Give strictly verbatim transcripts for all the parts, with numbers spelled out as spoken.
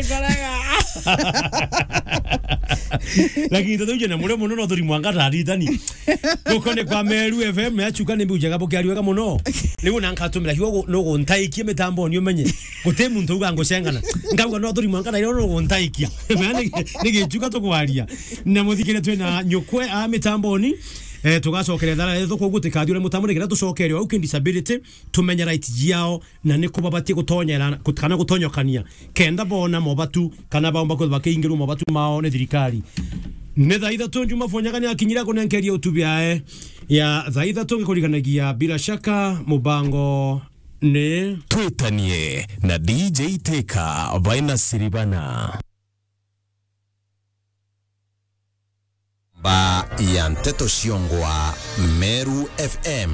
Karaga. Lakini tuthuje na murio muno no turi mwanga taritani. Guko ni kwa Meru F M ya chuka ni mbujaga bukiari wega muno. Ni una nkatumira hiyo no guntaikie mitambo ni umenye. Guti muntu uga ngucengana. Ngauga no turi mwanga na no guntaikia. Ni gichuka tukwaria. Na muthikire twina nyukwe a mitamboni. Eh, tugacokera thara yetu koguo tukathiure mutambo nikenda tucokere au ki disability, tumenye right ciao na ni ku babatie gutonyera, gut-, kana gutonyokania, kenda bona mobatu kana baumba kwithwa bakiingirwa mobatu mao ni thirikari. Ni thaa ithatu Juma Fonyaga ni akinyira kunenkeria utubi ae ya thaa ithatu ngikurikanagia bila shaka mubango ni Twitanie na D J Teka baina Siribana. Mba ya nteto ciongwa Meru F M.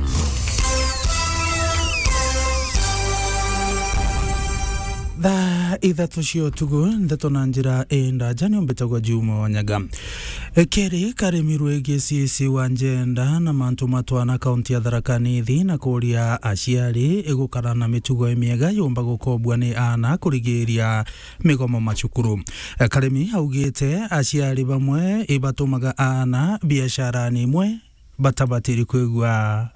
Thaa ithatu cia utuku, nteto na njira indaja, ni umbitagwa Juma Wanyaga. Keri karimi rwigi C C wa njenda na mantu ma twana kaunti ya Tharaka Nithi na kuria aciari igukara na mitugo imiega yumba gukobua ni aana kurigiria migomo macukuru. Karimi augite aciari bamwe ibatumaga aana biacarani imwe batabatiri kwigua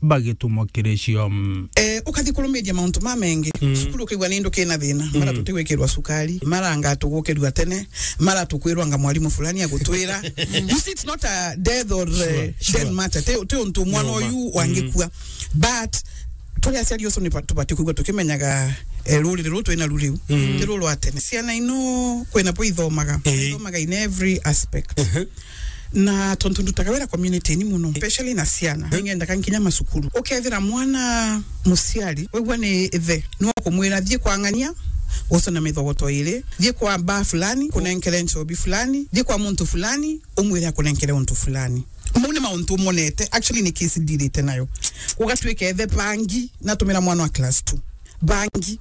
bagitumwa kiri cio. Eh, ukathi kurumiria mauntu mamengi. Mm. Cukuru ukaigua ni ndu kina thina. Mara tutigwikirwa cukari, mara anga tugukirua tene, mara tukwirwa anga mwarimu fulani agutwira. You see, it's not a death or, eh, death matter. Ti, ti untu mwana uyu wangikua. But turi aciari ucio ni ba-, tubati kwigua tukimenyaga, eh, ruriri ruru twina ru riu ti ruru rwa tene. Ciana ino kwina bo ithomaga, ithomaga in every aspect. Na tontu ndutaga wira community-ini muno, especially na ciana, ningendaga nkinya macukuru. Ukethira mwana muciari, wigua ni ithe, ni ukumwira, "Thii kwa ng'ania, ucone mithogoto iri, thii kwa baa fulani, kunenkere nchobi fulani, thii kwa muntu fulani, umwire akunenkere untu fulani." Mau ni mauntu umonete, actually ni case ndirite nayo. Ugatwika ithe bangi, natumira mwana wa class two. Bangi.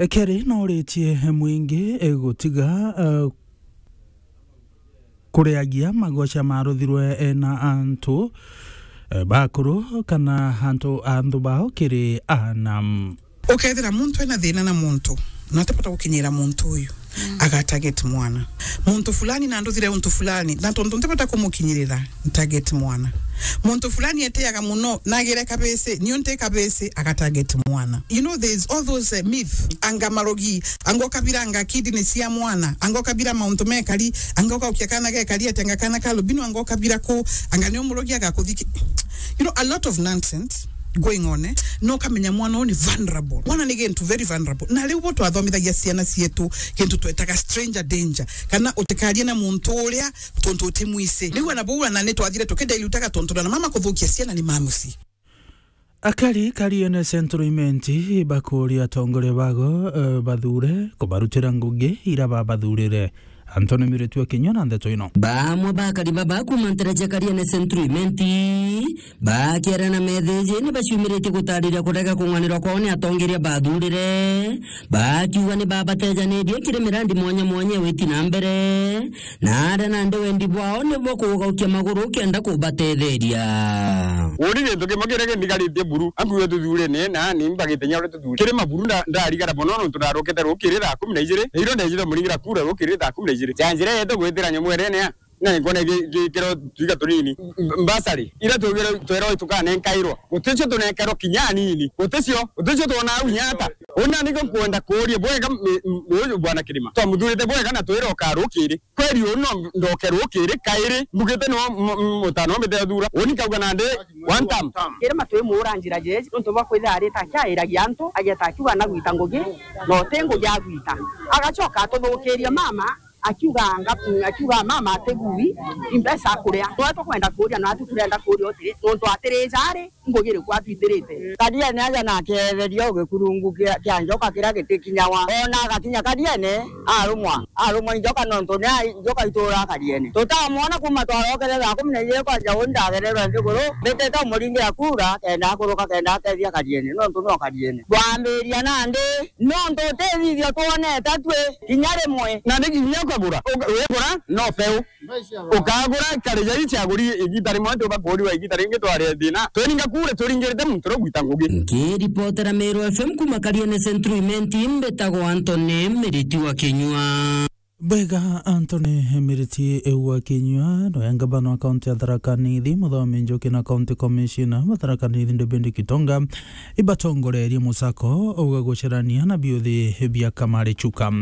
Keri no uritie mwingi, eh, gutiga, eh, kuriagia magoca maruthirwe, eh, na antu, eh, bakuru kana antu, antu bao kiri aana. Ukethira muntu ena thina na muntu, na atibota gukinyira muntu uyu, agatarget mwana. Muntu fulani na nduthire untu fulani, na tontu ntibota kumukinyirira, ntarget mwana. Muntu fulani etiaga muno, nagire kabisi, niu nti kabisi, agatarget mwana. You know, there's all those, uh, myth. Anga marogi, anga ukabira anga kidney cia mwana, anga ukabira mauntu mekari, anga ukaukia kana gekari, ati anga kana ka albino, anga ukabira ku, anga ni umurogi agakuthiki. You know, a lot of nonsense going on, eh? No ukamenya mwana uyu ni vulnerable. Mwana ni gintu very vulnerable. Na riu bo twathomithagia ciana cietu gintu twetaga stranger danger. Kana utikarie na muntu uria tontu utimwisi. Riu ana bau ana ni twathire tukidilutaga tontu na mama kuthukia ciana ni mamuci. Akari Kariene Central Imenti bakuria atongoria bago, eh, bathure kubarutira ngugi ira babathurire. Anthony Miritue kinya na ndeto ino. Bamwe bakari baba kuma ntera cia Kariene Central Imenti bakiara na methiji ni baciumiritie gutariria kurega kung'anirwa kwao ni atongeria bathurire, bakiuga ni babatejanirie kiri mirandi mwanya mwanya witi na mbere, na aria nandi wendi bwao ni bwa kugaukia maguru kenda kubatetheria. Uri gintu kimwe kiria kindigaritie buru, ankuwe tuthure ni na ni mbagite nya uri tuthure. Kiri maburu nda-, ndarigara mono nontu ndarukite rukiri thaa kumi na ijiri, na iro ndejire muringira kura rukiri thaa kumi na ijiri. Cia njira yetu gwitira nyomwerene ya, na nkona gi-, gikiro twiga tunini. M-, mbasari, ira twigire twera tukanenkairwa. Guticio tunenkairwa kinya nini. Guticio, guticio twona au nyata. Una niko nkwenda kuria bwega, m-, m-, uyu bwana Kirima. Twamuthurite bwega na twira ukarukiri. Kweri uu no ndoke rukiri kairi, mbugite no m-, m-, mutano mbite thura. Uni kauga nandi one term. Kiri matwi muura njira jeji, nontu bwa kwithira arita akiairagia antu, ageta akiuga na gwita ngugi, na uti ngugi agwita. Agacoka atuthukiria mama, akiuga ngatu-, akiuga mama atigui, imbeca akuria. Nwe tukwenda kuria, na atu turenda kuria utiri, nontu atirija ari, ngugi iriku atwitirite. Kariene aja na akeetheria ugikurungu kia, kia njoka kiria gitikinyawa. Ona agakinya Kariene, arumwa, arumwa i njoka nontu ni a-, njoka ituura Kariene. Tutamwona kuma twarokere thaa kumi na ijiri kwanja uu ndagererwe nthiguru, mbitite umuringira kura, kenda akuruka, kenda ateethia Kariene, nontu no Kariene. Twambiria nandi, nontu utithithio twonete atwi, kinya rimwe. Na ni kinya ukagura, uka-, wigura no peu. Ukagura karija ii ciaguri igita rimwe, tuba kuuriwa igita ringi twaria thina. Tweninga Kura turingirite muntu uria gwita ngugi. Nkiripotera Meru F M kuma Kariene Central Imenti, mbitagwa Anthony Miriti wa Kinyua. Bwega, Anthony Miriti wa Kinyua, noya ngavana wa kaunti ya Tharaka Nithi, Muthomi Njuki na county commissioner wa Tharaka Nithi, David Gitonga, ibatongorerie musako uga gucerania na biuthi bia Kamari Chuka.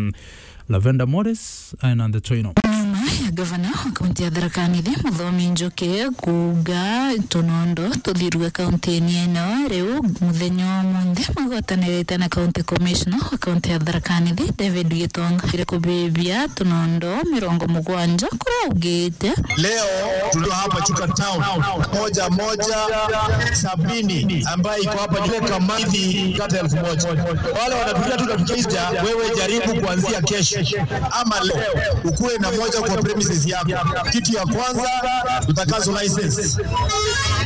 Lavenda Morris aina ndeto ino. Nyuma ya gavana wa kaunti ya Tharaka Nithi, Muthomi Njuki, kuuga tunondo tuthirue kaunti-ini ino, riu muthenya wa munthe magwatanirite na county commissioner wa kaunti ya Tharaka Nithi, David Gitonga, iri kubibia tunondo mirongo mugwanja, kuria augite. Leo tulio hapa Chuka Town, moja moja sabini, ambaye iko hapa juu kama hivi kata elfu moja. Wale wanatulia tu na tukiisha, wewe jaribu kuanzia kesho ama leo ukuwe na moja kwa premises yako. Kitu ya kwanza, utakazo license.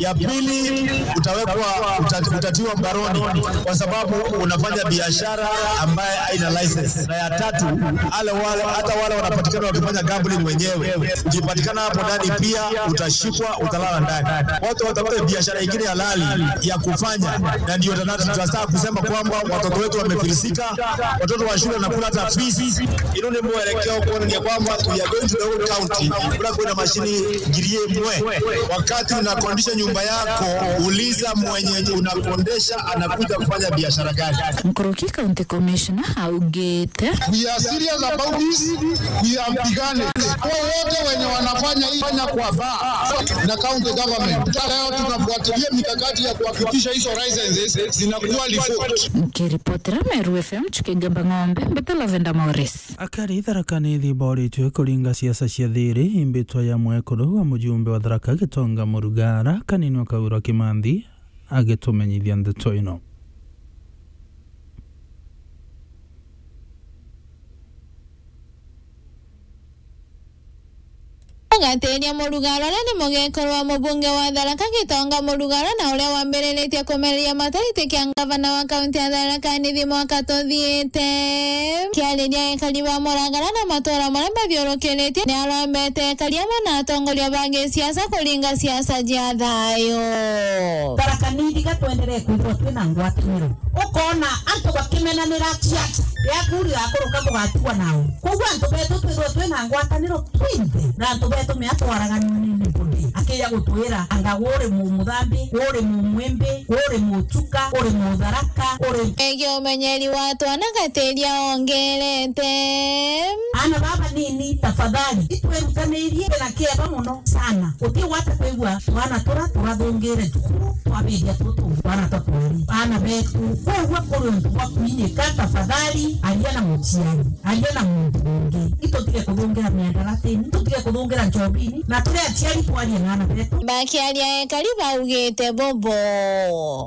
Ya pili, utawekwa, uta-, utatiwa mbaroni kwa sababu unafanya biashara ambaye haina license. Na ya tatu, ale wale, hata wale wanapatikana wakifanya gambling wenyewe, ukipatikana hapo ndani pia utashikwa, utalala ndani. Watu watafute biashara ingine halali ya kufanya, na ndio tuna-, tunataka kusema kwamba watoto wetu wamefilisika, watoto wa shule wanakula hata fees. Ino ni mwelekeo kuonania kwamba we are going to the whole county, kura kwina mashini ngiri imwe. Wakati unakondisha nyumba yako, uliza mwenye unakondesha anakuja kufanya biashara gani. Nkuruki County Commissioner augite. We are serious about this. We are beginning. Kwa wote wenye wanafanya hii, fanya kwa baa na county government. Leo tunafuatilia mikakati ya kuhakikisha hizo licenses zinakuwa revoked. Nkiripotera Meru F M, Chuki Ngamba Ng'ombe, mbita Lavenda Morris. Akari Tharaka Nithi boritwe kuringa siasa cia thiri, imbitwa ya mwekuru wa mujumbe wa Tharaka Gitonga Murugara, Kanini wa Kaura Kimanthi, agitumenyithia ndeto ino. Ugatiria Murugara uria ni mugekuru wa mubunge wa Tharaka Gitonga Murugara na uria wambiriritie kumereria mataiti kia ngavana wa kaunti ya Tharaka Nithi mwaka tuthiite. Kiariria ekari ba Murugara na matura maria mathiurukiritie, ni arombete ekari amwe na atongoria ba gisiasa kuringa siasa cia thayu. Tharaka Nithi ga twenderee kwithirwa twina ngwataniro. Ukona antu bakimenanira ciaca, riaku rigakuruka bugatigwa nao. Koguo antu betu twithirwe twina ngwataniro twinthe, na antu betu mea twaraganua ni nibudi. Akija gutwira, anga uri mumuthambi, uri mumwimbi, uri muchuka, uri mutharaka, uri. Egi umenyeri wa twana gatiria ongerete. Ana baba nini, tafadhali, itwerutanirie na kieba muno sana. Uti gwata kwigua twana tura turathungire cukuru, twabiria tutu twana twa kweri. Ana betu, kwigua kuri untu bwa kwinyika, tafadhali, aria na muciari, aria na muntu ungi. Itutige kuthungira miandaratini, itutige kuthungira njobini, na turi aciari twarie na ana betu. Bakiaria ekari baugite bubu.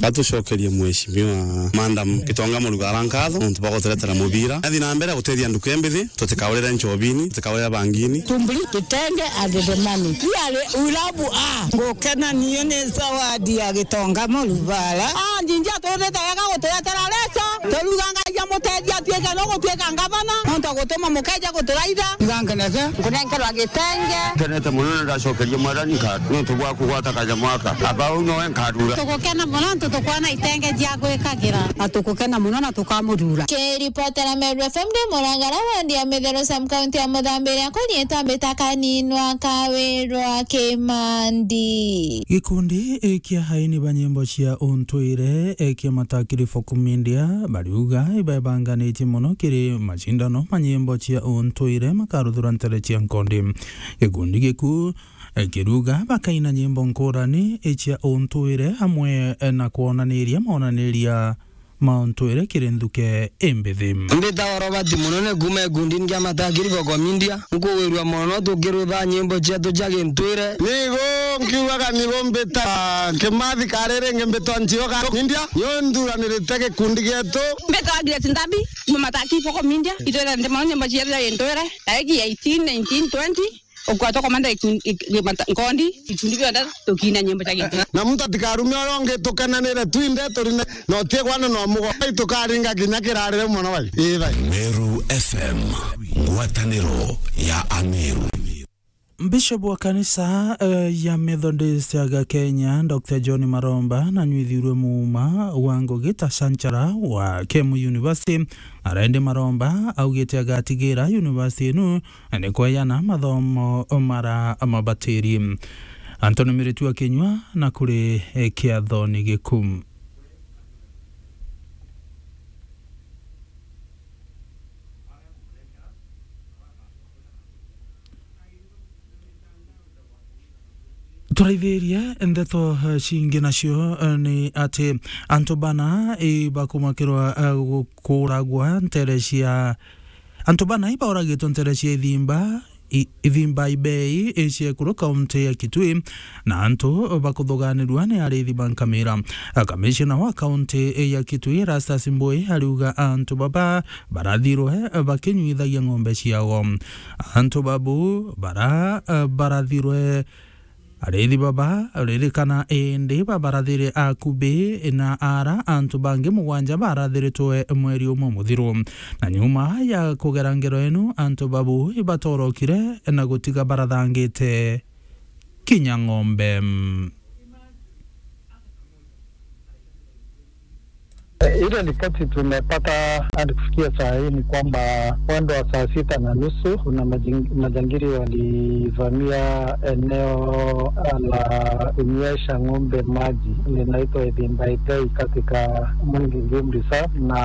Batucokerie Mheshimiwa Madam Gitonga Murugara nkatho nontu bwa guturetera mubira. Athi na mbere gutethia nduka imbithi, tutikaurire njobini, tutikaurire bangini. Tumbuli, kitenge and the money. Really, we love her. Ngukena niyo ni zawadi ya Gitonga Murugara. Ah, njinji atuthite wega guturetera leso. Turuga Ngai amutethie atuike no gutuika ngavana. Nontu agutuma mukeja guturaitha. Ngangeneke, nkunenkerwa gitenge. Nkenete muno na ndacokerie Mwathani nkatho nontu bwa kugwata kanyamwaka. Aba uu nowe nkarura. Tugukena muno nontu tukwona itenge cia gwikagira. Na tugukena muno na tukamurura. Kiripotera Meru F M ndi Murangara, wandi ya Mitheru, sub county ya Muthambiria, kuri itambi ta Kaninwa Kawirwa Kimandi. Gikundi kia aini ba nyimbo cia untwire kia Matakiri Folk Media bariuga ibebanganitie muno kiri macindano ma nyimbo cia untwire makaruthura ntere cia nkondi. Gikundi giku, eh, kiruga bakaina nyimbo nkurani cia untwire amwe, eh, na kwonaniria monaniria ma untwire kiri nthuke imbithi. Mbitagwa Robert Munene kuuma gikundini kia Matakiri Folk Media. Nkugwirua mono tukirwitha nyimbo cietu cia gintwire. Nigo nkiugaga nigo mbita Kimathi kari ringi mbitwa Nchioka Media. Nio nthuranirite gikundi gietu. Mbitagwa Grace Ntambi, kuuma Matakiri Folk Media. Itwirende mono nyimbo cietu cia gintwire. Tariki eighteen, nineteen, twenty. Ukwa tukomanda ikun-, ik-, ik-, mata-, nkondi, ikundi bionthe tukina nyimbo cia gintwire. Na muntu atikarume uria ungi tukenanire twinthe turine, na utigwana na umugo. Bai tukaringa kinya kirarire mono bai. Ii bai. Meru F M, ngwataniro ya Ameru. Bishop wa kanisa, eh, ya Methodist ya Kenya, Doctor John Maromba, nanyuithirwe muuma wa ngugi ta chanchara wa Kemu University, ara indi Maromba augite agatigira university inu ni kweyana mathomo mara mabatiri. Anthony Miritu akinyua na kuri, eh, kiathoni giku. Turaithirie ndeto, eh, cingi nacio, eh, ni ati antu bana, eh, bakumakirwa, eh, gukuragwa ntere cia, antu bana ibauragitwe ntere cia Ithimba, i-, Ithimba Ibei, i cia Ekuru, kaunti ya Kitui, na antu bakuthuganirua ni ariithi ba nkamira. Kamishina wa kaunti ya Kitui, Erastus Mbui, ariuga antu baba barathirwe bakinyuithagia ng'ombe ciao. Antu babu bara, eh, barathirwe ariithi baba, ririkana indi babarathire akubi na ara antu bangi mugwanja barathiritwe mweri umwe muthiru. Na nyuma ya kugera ngero inu, antu babu ibatorokire na gutiga barathangite kinya ng'ombe. Ile ripoti tumepata hadi kufikia saa hii ni kwamba mwendo wa saa sita na nusu kuna majing-, majangili walivamia eneo la kunywesha ng'ombe maji linaitwa Ithimba Ibei katika Mwingi Game Reserve, na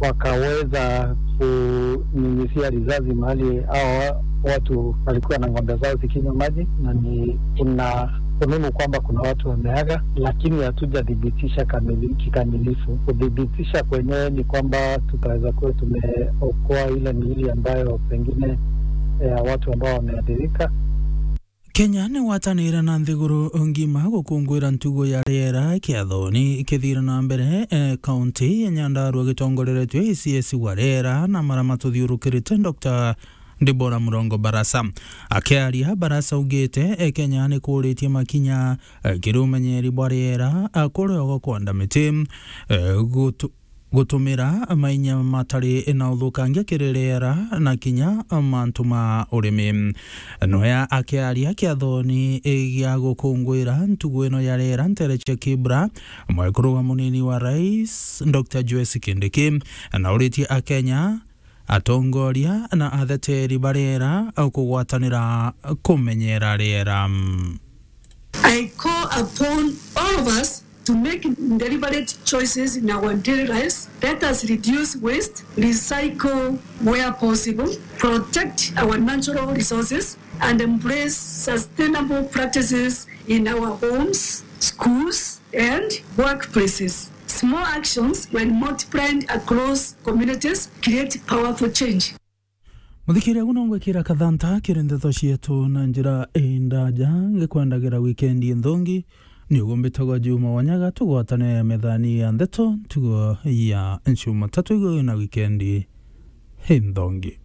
wakaweza kunyunyizia risasi mahali hao watu walikuwa na ng'ombe zao zikinywa maji, na ni kuna fununu kwamba kuna watu wameaga, lakini hatujathibitisha kamili-, kikamilifu. Kuthibitisha kwenyewe ni kwamba tutaweza kuwa tumeokoa ile miili ambayo pengine, eh, watu ambao wameathirika. Kenya ni gwatanire na nthiguru ngima gukunguira ntugo ya riera kiathoni kithire na mbere, eh, kaunti ya Nyandarua gitongoreretwe A C S wa riera na mara matuthiurukirite, Doctor Deborah Murongo Barasa. Akiaria, Barasa augite, eh, Kenya ni kuritie makinya, eh, kiri umenyeri bwa riera, eh, kuri ogo kwanda miti, eh, gutu-, gutumira mainya matari na uthukangia kiri riera na kinya mantu ma urimi. Noya akiaria kiathoni gia gukunguira ntugu ino ya riera ntere cia Kibra, mwekuru wa munini wa rais, Doctor Joyce Kindiki, na uritie Akenya, atongoria na atheteri ba riera kugwatanira kumenyera riera. I call upon all of us to make deliberate choices in our daily lives. Let us reduce waste, recycle where possible, protect our natural resources, and embrace sustainable practices in our homes, schools, and workplaces. Small actions, when multiplied across communities, create powerful change. Muthikiria, guno ngwikira kathanta kiri ndeto cietu na njira indaja, ngikwendagira wikendi nthongi. Ni ugumbitagwa Juma Wanyaga, tugwatane methani ya ndeto ntugo ya Njumatatu. Igwe na wikendi inthongi.